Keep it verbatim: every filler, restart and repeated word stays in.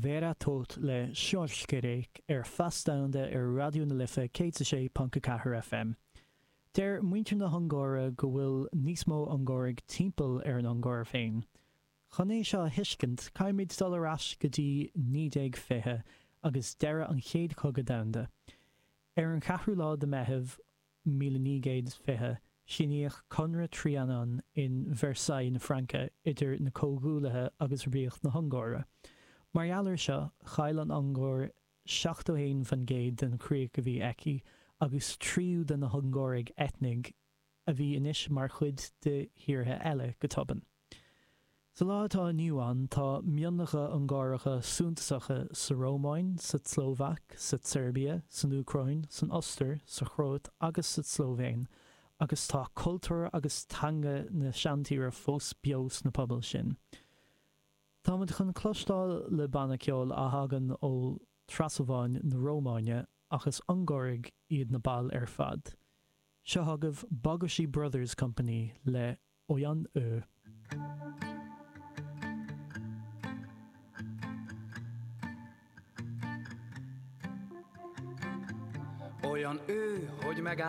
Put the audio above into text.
Vera Tóth le Sorskerék ar Feas Domhanda ar Raidió na Life céad a sé ponc a ceathair FM. Deir muintir na hUngáire go bhfuil níos mó Ungáraigh timpeall ar an Ungáir féin. Chun é seo a thuiscint, caithfimid dul ar ais go dtí naoi déag fiche agus deireadh an Chéad Chogadh Domhanda. Ar an cheathrú lá de Mheitheamh míle naoi gcéad is fiche, síníodh Conradh Trianon in Versailles na Fraince idir na Comhghuaillithe agus Ríocht na hUngáire. Mar gheall air seo, chaill an Ungáir seachtó haon faoin gcéad den chríoch a bhí aici agus tríú de na hUngáraigh eitnigh a bhí anois mar chuid de thíortha eile go tobann. Sa lá atá inniu ann, tá mionlacha Ungáracha suntasacha sa Rómáin, sa tSlóvaic, sa tSeirbia, san Úcráin, san Ostair, sa Chróit agus sa tSlóivéin, agus tá cultúr agus teanga na seantíre fós beo sna pobail sin. Táimid chun cloisteáil le banna ceoil a thagann ó Transalváin na Rómáine ach is Ungáraigh iad na baill ar fad. Seo chugaibh Bagossy Brothers Company le Olyan Ő. Olyan ő, hogy megáll.